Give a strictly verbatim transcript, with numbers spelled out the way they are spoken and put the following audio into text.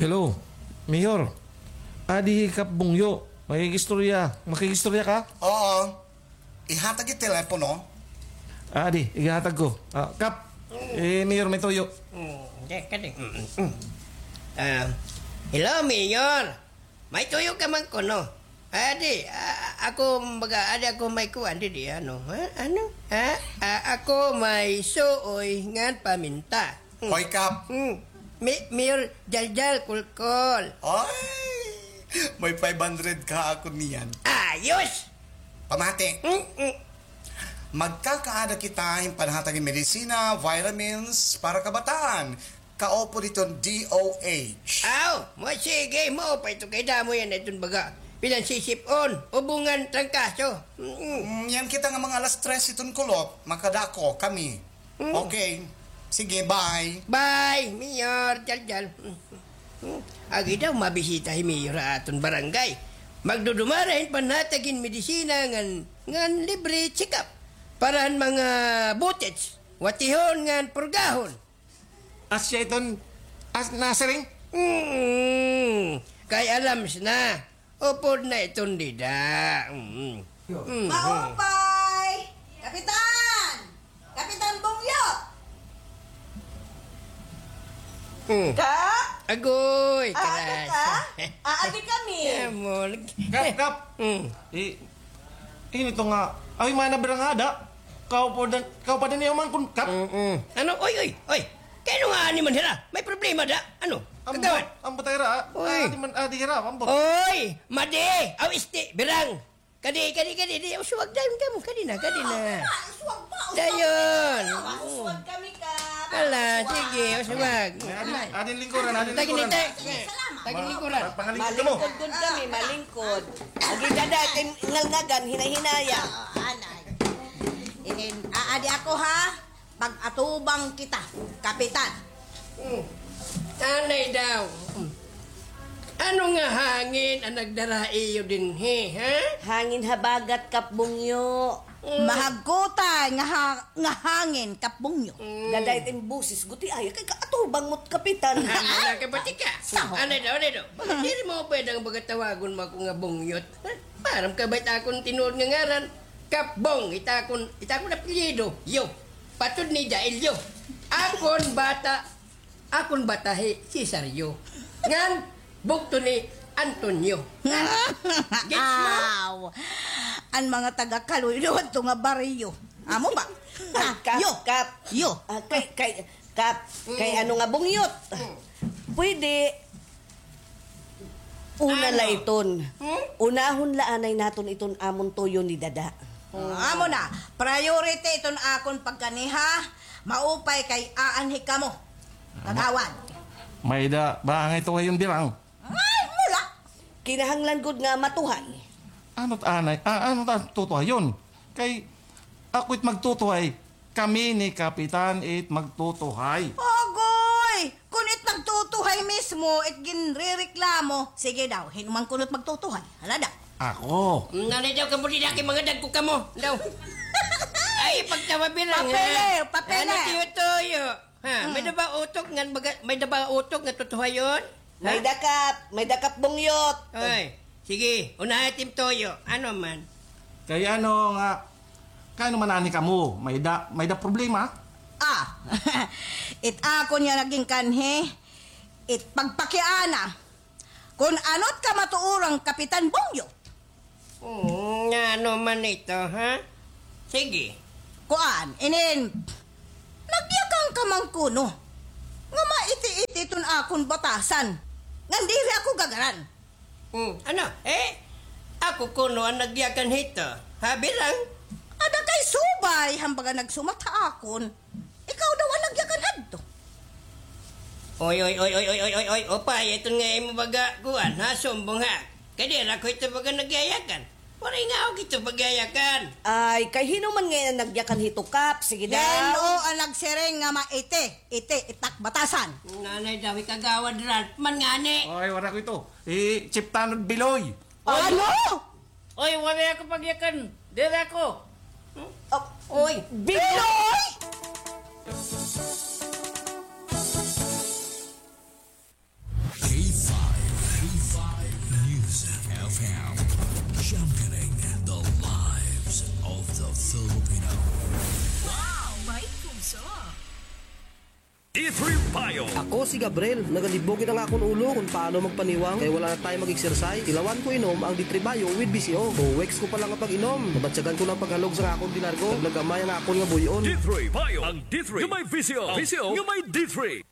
Hello, Mayor. Adi hi Kap Bungyo. Makikistorya. Makikistorya ka? Oo. Ihatag it telepono. Adi, ihatag ko. Ah, Kap, eh, Mayor, may tuyo. Mm, di, kadi. Mm, mm. Ah, hello, Mayor. May tuyo ka man kuno. Adi, ah, ako, baga, adi ako may kuan, di, di, ano, ha? Ano? Ha? Ah, ako may suoy ngan paminta. Hmm. Hoy, Kap. Hmm. Mi-, Mayor Jaljal Kulkol. Ay! May five hundred ka ako niyan. Ayos! Pamati. Hmm, hmm. Magkakaada kita hin panhatag hin medisina, vitamins para kabataan. Kaupod iton D O H. Aw, mo sige, maupay ito kay damo yana iton baga. Pinansisip-on, ubungan, trangkaso. Mm. Mm, yan kita nga mga alas tres iton kulop, makadako kami. Mm. Okay. Sige, bye. Bye, Mayor Jaljal. Mm. Agi daw, mabisita hi Mayor ha aton barangay. Magdudumara hin panhatag hin medisina ngan, ngan libre check-up. Para han mga butets, watihon ngan purgahon. Asya iton, as-, nasiring? Mm, kay alams na. Upod na iton dida. Mm. Mm. Maupay! Kapitan! Kapitan Bungyot! Mm. Kap? Agoy, ah, karas. Ka? Ah, abi kami. Amon. Kap, Kap. Mm. Eh, ini to nga. Ay, mana barangay ada? Kaupadan, kaupadan niyo man kun Kap. Mm-mm. Ano? Oy, oy, oy. Kay ano nga ani man hira? May problema da? Ano? Ambot, kagawad? Ambot ay hira, ah. Oy. Adi man, adi hira, ambot. Oy, madi, aw isti, birang. Kadi, kadi, kadi, di, uswag dayon kamo, kadi na, kadi na. Ah, uswag pa, uswag. Dayon. Ah, uswag kami, Kap. Ala, uswag. Sige, uswag. Ay, adin, adin lingkuran, adin lingkuran. Tagin lingkuran. Pangalingkod kamo. Malingkod gud kami, malingkod. Agi dada, tin-, ngalngagan, hinay-hinaya. Ah, anay. Inin, aadi ako, ha? Pag-atubang kita, Kapitan. Hmm. Anay daw. Hmm. Ano nga hangin an nagdara ha iyo dinhi, ha? Hangin habagat, Kap Bungyo. Hmm. Mahagkutay nga ha-, nga hangin, Kap Bungyo. Hmm. Dadayt in boses, guti ay, kay kaatubang mo't Kapitan. Ano na ka, batika? Saho. Anay daw, anay daw. Diri mo pwede nga baga tawagon mo ako nga Bungyot. Ha? Maaram ka ba it akon tinuod nga ngaran? Kap Bong, it akon, it akon apelyido, yo. Patod ni Jael, yo. Akon bata, akon bata hi Cesario. Ngan, bugto ni Antonio. Gets mo? Aw. An mga taga Kaloy-loy adto nga baryo. Amo ba? Ah, Kap, yo. Kap. Yo. Ah, kay, kay, Kap, kay ano nga Bungyot? Mm. Pwede, una la iton. Hmm? Unahon la anay naton iton amon tuyo ni Dada. Ah, amo na. Priority iton akon pagkani, ha? Maupay kay aanhi kamo. Kagawad. May-ada ba ngay tuhayon, birang? Ay, wala. Kinahanglan gud nga matuhay. Ano't anay? Ah, ano't an tutuhayon? Kay ako it magtutuhay. Kami ni Kapitan it magtutuhay. Agoy! Kon it magtutuhay mismo, it ginrereklamo, sige daw, hin-o man kuno it magtutuhay? Hala daw. Ako. Nanay daw kamo, di na kay mga dagko kamo. Daw. Ay, pagtawa, birang, ha? Papel, papel. Ano, tiyo-toyo? Ha, may-ada ba utok nga baga-, may-ada ba utok nga tutuhayon? Ha? May-ada, Kap, may-ada, Kap Bungyot. Oy, sige, unaha it im tuyo. Ano man? Kay ano nga, kay ano man anhi kamo, may-ada, may-ada problema? Ah, it akon nga naging kanhi, it pagpakiana. Kon ano't kamatuoran, Kapitan Bungyot. Hmm, nga ano man ito, ha? Sige. Kuan, inin, nagyakan ka man kuno nga maiti-iti iton akon batasan. Ngan diri ako gagaran. Hmm, ano? Eh? Ako kuno an nagyakan hito. Ha, birang? Ada kay subay, han baga nagsumat ha akon. Ikaw daw an nagyakan hadto. Oy, oy, oy, upay, iton nga imo baga, kuan, ha, sumbong, ha? Kay diri ako ito baga nagyayakan. Waray nga ako ito pagyayakan. Ay, kay hin-o man ngay-an an nagyakan hito, Kap? Sige daw. Hin-o an nagsiring nga maiti, iti, it ak batasan? Nanay daw, hi Kagawad Ralph man ngani. Oy, waray ako ito. Hi Chief Tanod Biloy. Ano? Oy, waray ako pagyakan. Diri ako. Hmm? Oh, oy. Biloy! K Z D three Bio. Ako si Gabriel, nagalibog gid an akon ulo kon paano magpaniwang kay wala na tayo mag-exercise. Tilawan ko inom ang D three Bio with V C O. Two weeks ko pa lang nga pag-inom, nabatyagan ko na an paghalog sa akon dinargo. Naglagamay an akon nga buy-on. D three Bio, ang D three nga may V C O. V C O nga may D three.